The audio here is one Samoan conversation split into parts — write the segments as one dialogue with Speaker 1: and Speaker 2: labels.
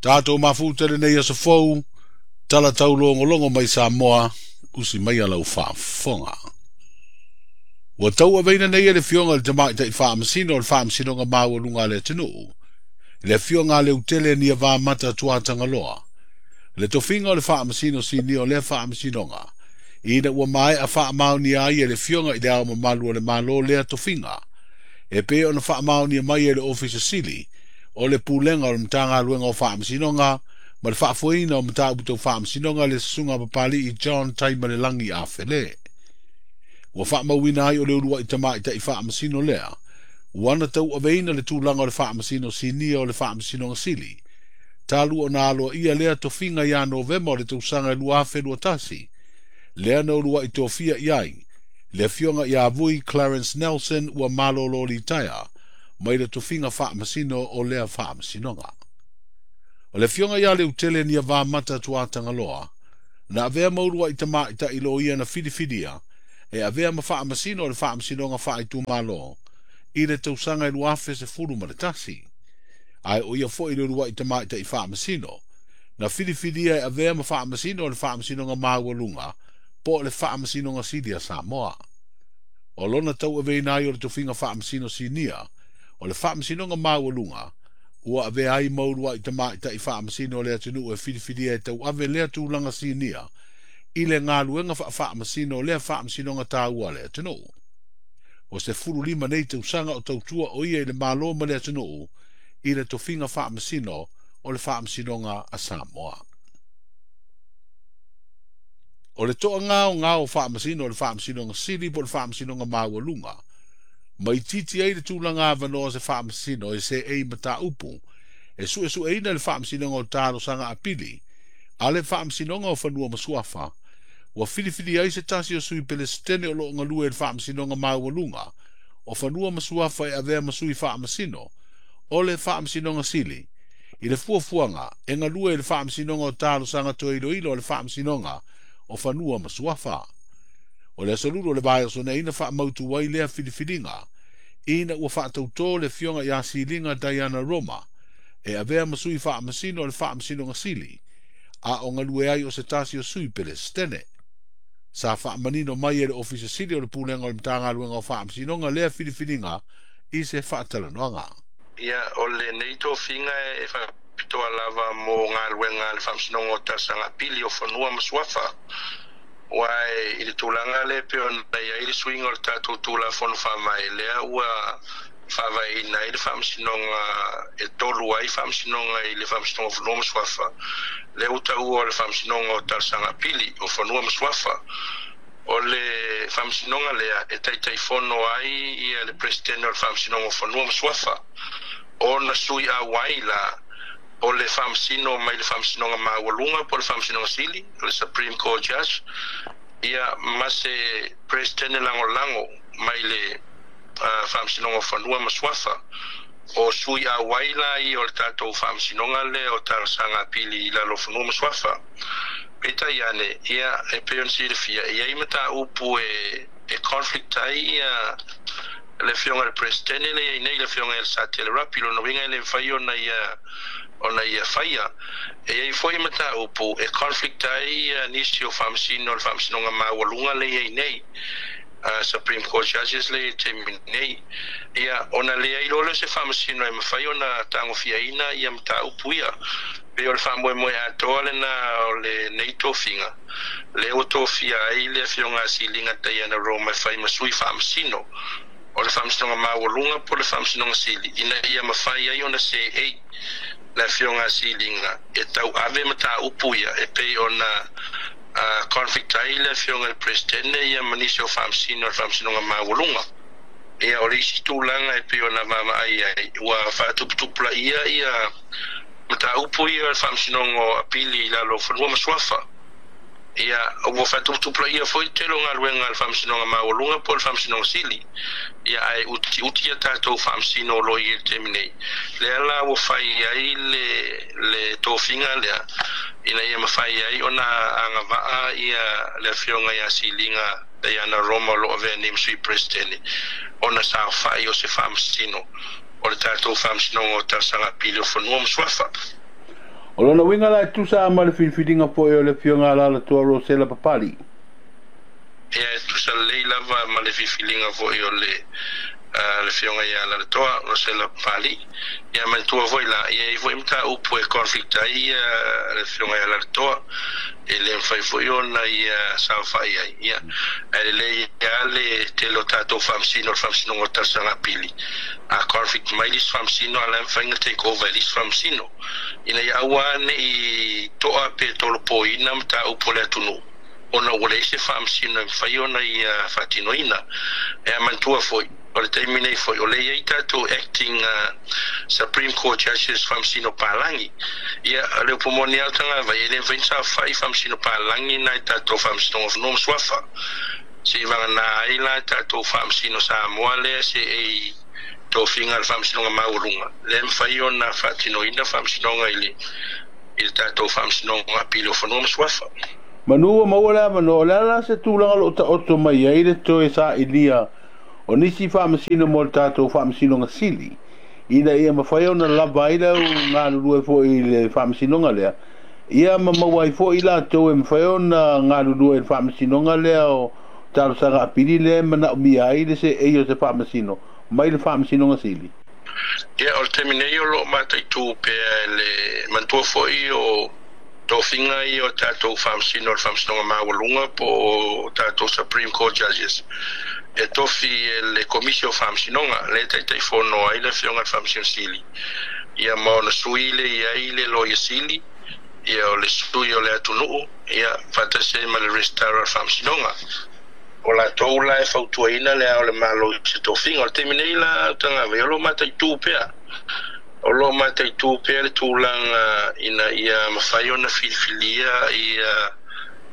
Speaker 1: Tatou mafuta lenei aso fou, tala taulogologo mai Samoa, usi mai a lau faafofoga. Ua tauaveina nei e le Afioga i le Tamaitai Faamasino o le Faamasinoga Maualuga a le atunuu, le Afioga a Leutele Niavamata Tuatagaloa, le tofiga o le Faamasino Sinia o lea Faamasinoga, ina ua maea faamaonia ai e le Afioga i le Ao Mamalu o le Malo lea tofiga, e pei ona faamaonia mai e le Ofisa Sili o le Pulega o le Matagaluega o Faamasinoga ma le faafoeina o mataupu tau faamasinoga le Susuga Papali'i John Taimalelagi Afele. Ua faamauina ai o le uluai tamaitai faamasino lea, ua na tauaveina le tulaga o le Faamasino Sinia o le Faamasinoga Sili, talu ona aloaia lea tofiga ia Novema o le tausaga 2021, lea na uluai tofia i ai le Afioga ia Vui Clarence Nelson ua malolo litaea mai le tofiga faamasino o lea faamasinoga. O le Afioga ia Leutele Niavamata Tuatagaloa, na avea ma uluai tamaitai loia na filifilia e avea ma faamasino o le Faamasinoga Faaitumalo i le tausaga 2011. Ae o ia foi le uluai tamaitai faamasino na filifilia e avea ma faamasino o le Faamasinoga Maualuga po o le Faamasinoga Sili a Samoa. O lona tauaveina ai o le tofiga faamasino sinia o le Faamasinoga Maualuga, ua avea ai ma uluai tamaitai faamasino o le atunuu e filifilia e tauave lea tulaga sinia i le galuega faafaamasino o lea faamasinoga taua a le atunuu. O 15 nei tausaga o tautua o ia i le Malo ma le atunuu i le tofiga faamasino o le Faamasinoga a Samoa. O le toagaogao o faamasino o le Faamasinoga Sili po o le Faamasinoga Maualuga, ma itiiti ai le tulaga avanoa o se faamasino e seei mataupu e suesueina le Faamasinoga o Talosaga Apili a le Faamasinoga o Fanua ma Suafa, ua filifili ai se tasi o sui Pelesitene o loo galue i le Faamasinoga Maualuga o Fanua ma Suafa e avea ma sui faamasino o le Faamasinoga Sili i le fuafuaga e galue i le Faamasinoga o Talosaga Toe Iloilo o le Faamasinoga o Fanua ma Suafa. O le aso Lulu o le vaiaso nei na faamautu ai lea filifiliga, ina ua faatautō le Afioga ia Siliga Diana Roma e avea ma sui faamasino o le Faamasinoga Sili, a o galue ai o se tasi o sui Pelesitene. Sa faamanino mai e le Ofisa Sili o le Pulega o le Matagaluega o Faamasinoga lea filifiliga i se faatalanoaga.
Speaker 2: Ia, o lenei tofiga e faapitoa lava mo galuega a le Faamasinoga o Talosaga Apili o Fanua ma Suafa. Aua i le tulaga lea e pei ona i ai le suiga o le tatou Tulafono Faavae, lea ua faavaeina ai le Faamasinoga e tolu ai Faamasinoga i le Faamasinoga o Fanua ma Suafa, lea ua taua o le Faamasinoga o Talosaga Apili o Fanua ma Suafa. O le Faamasinoga lea e Taitaifono ai ia le Peresetene o le Faamasinoga o Fanua ma Suafa, ona sui auai la o le Faamasino mai le Faamasinoga Maualuga po o le Faamasinoga Sili, o le Supreme Court Judge, ia ma se Peresetene lagolago mai le Faamasinoga o Fanua ma Suafa. O sui auai la ia o le tatou Faamasinoga lea o Talosaga Apili i lalo o Fanua ma Suafa. Peitai ane, ia, e pei ona silafia, e i ai mataupu e conflict ai ia le Afioga i le Peresetene lea e i ai nei, le Afioga ia Lesatele Rapi. Lona uiga e le mafai ona ia faia. E i ai foi mataupu e conflict ai ia nisi o Faamasino o le Faamasinoga Maualuga lea e i ai nei, Supreme Court Judges lea i le taimi nei. Ia, ona leai loa lea o se Faamasino e mafai ona tagofiaina ia mataupu ia. Pei o le faamoemoe atoa lena o lenei tofiga, lea ua tofia ai le Afioga a Siliga Diana Roma e fai ma sui Faamasino o le Faamasinoga Maualuga po o le Faamasinoga Sili, ina ia mafai ai ona seei le Afioga a Siliga e tauave mataupu ia e pei ona conflict ai le Afioga i le Peresetene ia ma nisi o Faamasino o le Faamasinoga Maualuga. Ia, o le isi tulaga e pei ona vaavaai ai, ua faatuputupulaia ia mataupu ia o le Faamasinoga o Apili i lalo o Fanua ma Suafa. Ia, ua faatuputupulaia foi le tele o galuega a le Faamasinoga Maualuga po o le Faamasinoga Sili. Ia, ae utiuti a tatou Faamasino o lo o i ai i le taimi nei. Lea la ua fai ai le tofiga lea ina ia mafai ai ona agavaa ia le Afioga ia Siliga Diana Roma o lo o avea nei ma sui Peresetene ona saofai o se Faamasino o le tatou Faamasinoga o Talosaga Apili o Fanua ma Suafa.
Speaker 1: O lona uiga la e tusa ma le filifiliga foi o le Afioga Alaalatoa Rosela Papalii.
Speaker 2: Ia, e tusa lelei lava ma le filifiliga foi o le le Afioga ia Alaalatoa Rosela Papalii. Ia manatua foi la, e i ai foi mataupu e conflict ai le Afioga ia Alaalatoa, e le mafai foi ona ia saofai ai. Ia, ae lelei lava le tele o tatou faamasino o le Faamasinoga o Talosaga Apili, a conflict mai le isi faamasino, a o la e mafai ona take over e le isi faamasino, ina ia aua ne i toa pe tolopoina mataupu a le atunuu ona ua leai se faamasino e mafai ona ia faatinoina. Ae manatua foi, o le taimi nei foi o lea e i ai tatou acting Supreme Court Judges, faamasino palagi. Ia, o le upu moni lava o Tagavai, e le mafai ona saofai faamasino palagi nai tatou Faamasinoga o Fanua ma Suafa. Seivagana ai la tatou faamasino Samoa lea se ei tofiga a le Faamasinoga Maualuga, lea e mafai ona faatinoina faamasinoga i le tatou Faamasinoga Apili o Fanua ma Suafa.
Speaker 1: Manu ua maua le avanoa, o le a la se tulaga o lo o taoto mai ai le toe sailia o nisi faamasino mo le tatou Faamasinoga Sili, ina ia mafai ona lava ai le au galulue foi i le faamasinoga lea, ia ma maua ai foi latou e mafai ona galulue i le faamasinoga lea o talosaga apili lea e manaomia ai le seei o se faamasino mai le Faamasinoga Sili?
Speaker 2: Ia, o le taimi nei o lo o mataitu pea e le manatua foi o tofiga ia o tatou faamasino o le Faamasinoga Maualuga po o tatou Supreme Court Judges, e tofi e le Komisi o Faamasinoga lea e Taitaifono ai le Afioga i le Faamasino Sili, ia ma ona sui le i ai le Loia Sili, ia o le sui o le atunuu, ia faatasi ai ma le Resitara o le Faamasinoga. O latou la e fautuaina le Ao o le Malo i se tofiga. O le taimi nei la, Tagavai, o lo o mataitu pea. O lo o mataitu pea le tulaga ina ia mafai ona filifilia ia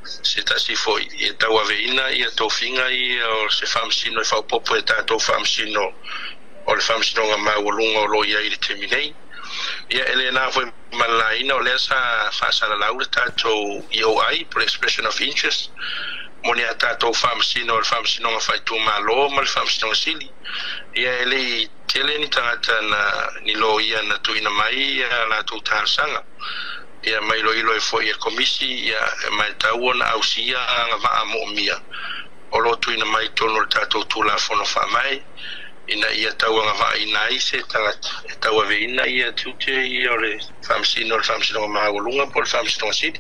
Speaker 2: se tasi foi e tauaveina ia tofiga ia o se faamasino e faaopoopo e tatou faamasino o le Faamasinoga Maualuga o lo o i ai i le taimi nei. Ia, e le na foi ma le laina o lea sa faasalalau le tatou EOI, po o le Expression of Interest, mo ni a tatou faamasino o le Faamasinoga Faaitumalo ma le Faamasinoga Sili. Ia, e le i tele ni tagata na ni loia na tuuina mai ia latou talosaga. Ia, ma iloilo ai foi e le Komisi, ia, e matau ona ausia agavaa moomia o lo o tuuina mai i totonu o le tatou Tulafono Faavae, ina ia tauagavaaina ai se tagata e tauaveina ia tiute ia o le faamasino o le Faamasinoga Maualuga po o le Faamasinoga Sili.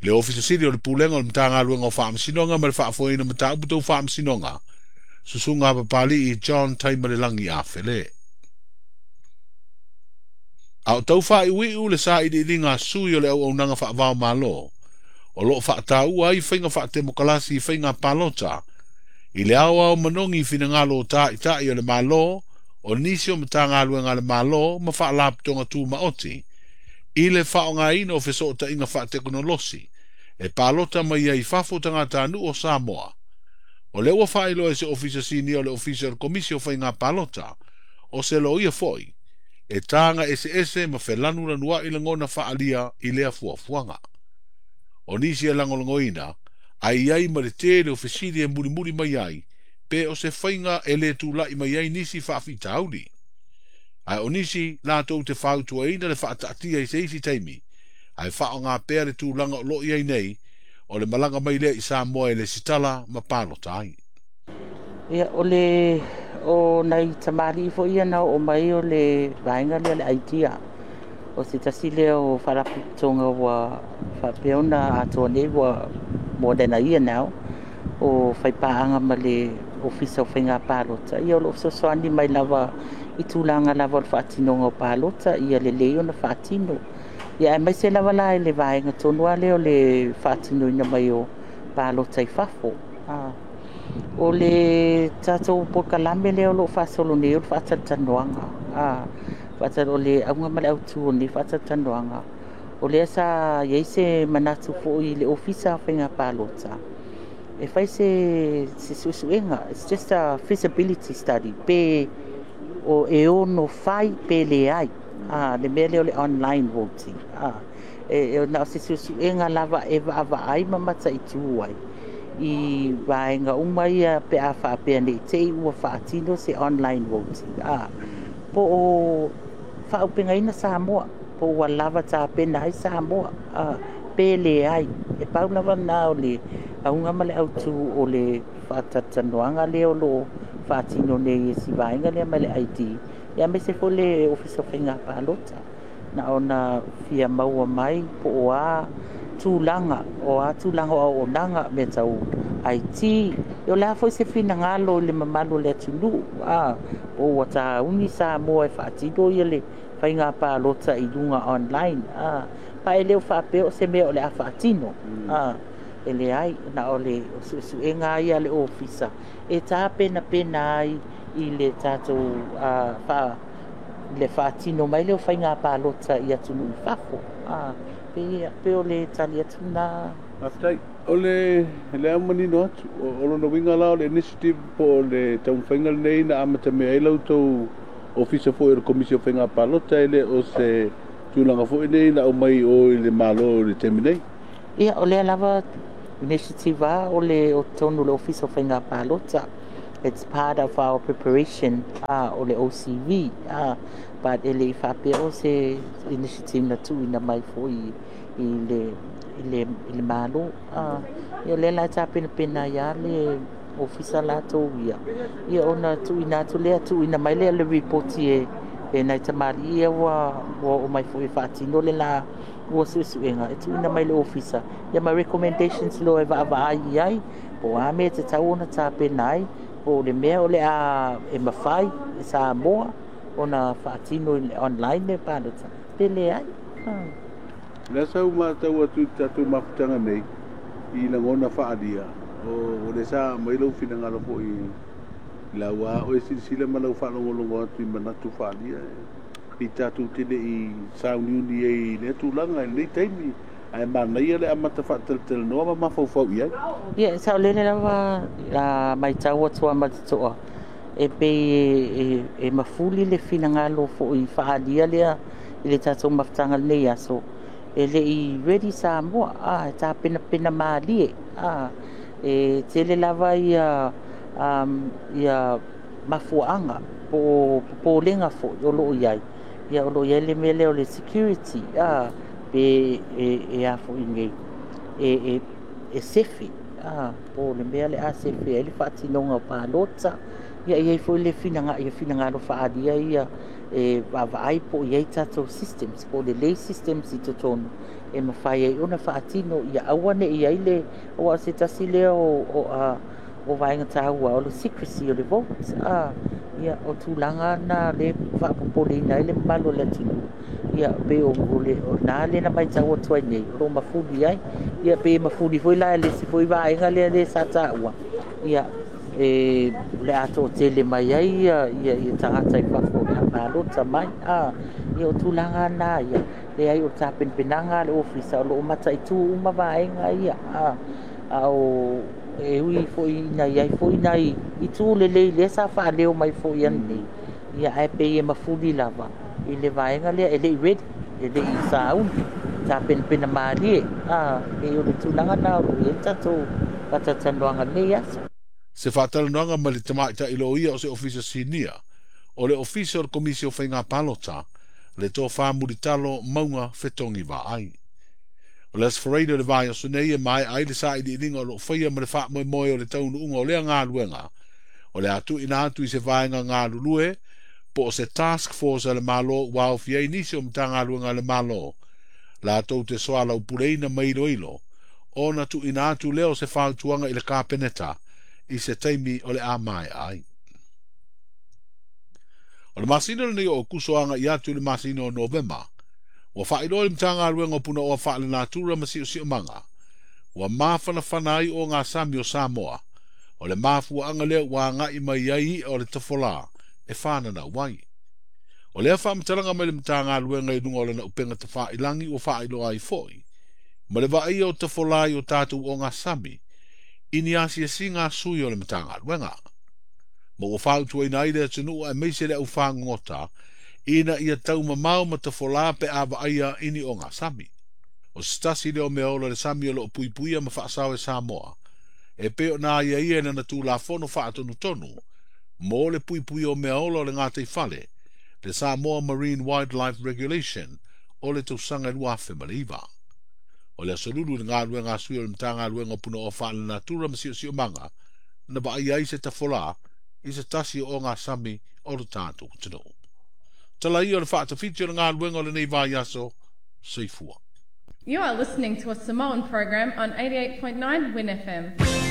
Speaker 1: Le Ofisa Sili o le Pulega o le Matagaluega o Faamasinoga ma le Faafoeina Mataupu Tau Faamasinoga, Susuga Papali'i John Taimalelagi Afele. A o tau faaiuiu le sailiiliga a sui o le auaunaga faavao Malo, o lo o faataua ai faiga faatemokalasi i faiga palota, i le aoao manogi i finagalo o tāita'i o le Malo, o nisi o Matagaluega a le Malo ma faalapotopotoga tumaoti, i le faaaogaina o fesootaiga faatekonolosi e palota mai ai i fafo tagatanuu o Samoa. O lea ua faailoa e se Ofisa Sinia o le Ofisa o le Komisi o Faiga Palota, o se loia foi, e taga eseese ma felanulanua'i lagona faaalia i lea fuafuaga. O nisi e lagolagoina, ae i ai ma le tele o fesili e mulimuli mai ai, pe o se faiga e le tula'i mai ai nisi faafitauli. Ae o nisi latou te fautuaina le faataatia i se isi taimi, ae faaaoga pea le tulaga o lo o i ai nei, o le malaga mai lea i Samoa e lesitala ma palota ai.
Speaker 3: Ia, o le o nai tamalii foi ia na oo mai o le vaega lea o le IDEA. O se tasi lea o faalapotopotoga ua faapea ona atoa nei ua more than a year now o faipaaga ma le Ofisa o Faiga Palota. Ia, o lo o fesoasoani mai lava i tulaga lava o le faatinoga o palota, ia lelei ona faatino. Ia, aemaise lava la i le vaega tonu lava lea o le faatinoina mai o palota i fafo. O le tatou polokalame lea o lo o faasolo nei o le faatalatalanoaga. O le auga ma le autu o lenei faatalatalanoaga, o lea sa i ai se manatu foi i le Ofisa o Faiga Palota e fai se suesuega, it's just a feasibility study, pe o e ono fai pe leai le mea lea o le online voting. E na o se suesuega lava e vaavaai ma mataitu ai i vaega uma ia pe a faapea nei te i ua faatino se online voting, po o faaupegaina Samoa. Po ua lava tapena ai Samoa pe leai. E pau lava lena o le auga ma le autu o le faatalatalanoaga lea o lo o faatino nei e si vaega lea mai le ID, aemaise foi le Ofisa o Faiga Palota. Na ona fia maua mai po o a tulaga, o a tulaga o auaunaga, mea tau IT, o le a foi se finagalo i le mamalu o le atunuu, po ua tauni Samoa e faatino le faiga palota i luga online. Pa e le o faapea o se mea o le a faatino. E leai, na o le suesuega ia a le ofisa e tapenapena ai i le tatou le faatino mai lea o faiga palota i atunuu i fafo. Pe o le tali atu lena.
Speaker 1: Faafetai. O le lea manino atu, o lona uiga la o le initiative po o le taumafaiga lenei na amatamea ai la outou ofisa foi o le Komisi o Faiga Palota, e le o se tulaga foi nei na aumai o i le Malo i le taimi nei.
Speaker 3: Ia, o lea lava initiative o le o totonu o le Ofisa o Faiga Palota. It's part of our preparation o le OCV, but e le i faapea o se initiative na tuuina mai foi i le Malo. Ia o lea la e tapenapena ai lava le ofisa latou ia, ia ona tuuina atu lea, tuuina mai lea le ripoti e nai tamalii ia ua oo mai foi e faatino le la ua suesuega e tuuina mai le ofisa, ia ma recommendations loa e vaavaai i ai, po o a mea e tatau ona tapena ai, po o le mea o le a e mafai e Samoa ona faatino i le online le palota, pe leai.
Speaker 1: Lea sa ou matau atu i le tatou mafutaga nei i lagona faaalia, o le sa aumai lou finagalo foi i lau a oe silasila ma lau faalogologo atu i manatu faaalia i tatou te le i sauniuni ai i lea tulaga i lenei taimi, ae manaia le amata faatalatalanoa ma mafaufau i ai.
Speaker 3: Ia, saolele lava matau atu a ma le totoa, e pei e mafuli le finagalo foi faaalia lea i le tatou mafutaga lenei aso. E le i ready Samoa, e tapenapena malie, e tele lava ia mafuaaga po o popolega foi o lo o i ai. Ia o lo o i ai le mea lea o le security, pe e a foi nei, e sefe, po o le mea le a sefe ai le faatinoga o palota. Ia e i ai foi le finagalo faaalia ia e vaavaai po o i ai tatou systems, po o lelei systems i totonu e mafai ai ona faatino, ia aua ne i ai le aua o se tasi lea o vaega taua o le secrecy o le vote. Ia o tulaga na le faapopoleina ai le mamalu o le atunuu. Ia pe o le na lea na matau atu ai nei o lo o mafuli ai. Ia pe mafuli foi la le isi foi vaega lea le sa taua. Ia e le a toatele mai ai ia tagata i fafo o le a palota mai. Ia o tulaga na ia leai o tapenapenaga a le ofisa o lo o mataitu uma vaega ia. A o e ui foi ina iai foi nai itu lelei lea sa faaleo mai foi ananei. Ia ae pei e mafuli lava i le vaega lea e le i ready, e le i sauni, tapenapena malie. E o le tulaga na o lo o i ai le tatou faatalatalanoaga lenei aso.
Speaker 1: Se faatalanoaga ma le tamaitai loia o se ofisa sinia, o le ofisa o le Komisi o Faiga Palota, le tofa mulitalo Mauga Fetogi Vaai. O le Aso Faraile o le vaiaso nei e maea ai le sailiiliga o lo o faia ma le faamoemoe o le taunuuga o lea galuega, o le a tuuina atu i se vaega galulue po o se task force a le Malo ua aofia ai nisi o Matagaluega a le Malo, latou te soalaupuleina ma iloilo, ona tuuina atu lea o se fautuaga i le Kapeneta i se taimi o le a maea ai. O le masina lenei o Okuso agai atu i le masina o Novema, ua faailoa le Matagaluega o Punaoa Faalenatura ma Siosiomaga, ua mafanafana ai o ngā sami o Samoa, o le mafuaaga lea ua agai mai ai i'a o le tafolā e whānanau ai. O lea faamatalaga mai le Matagaluega i luga o lana upega tafailangi ua faailoa ai foi, ma le vaaia o tafolā i o tatou o ngā sami, i ni asiasiga a sui o le Matagaluega. Ma ua fautuaina ai le atunuu aemaise le aufagogota, ina ia taumamao ma tafolā pe a vaaia i ni o ngā sami. O se tasi lea o mea ola le sami o loo puipuia ma faasao e Samoa, e pei ona aiaia i lana Tulafono faatonutonu, mo le puipuia o mea ola o le gatai fale, le Samoa Marine Wildlife Regulation o le tausaga e 2009. O le aso Lulu i le galuega a sui o le Matagaluega o Punaoa Faalenatura ma Siosiomaga na vaaia ai se tafolā i se tasi o ogasami o le tatou atunuu. Tala ia o le faatafiti o le galuega o lenei vaiaso. Soifua.
Speaker 4: You are listening to a Samoan program on 88.9 Win FM.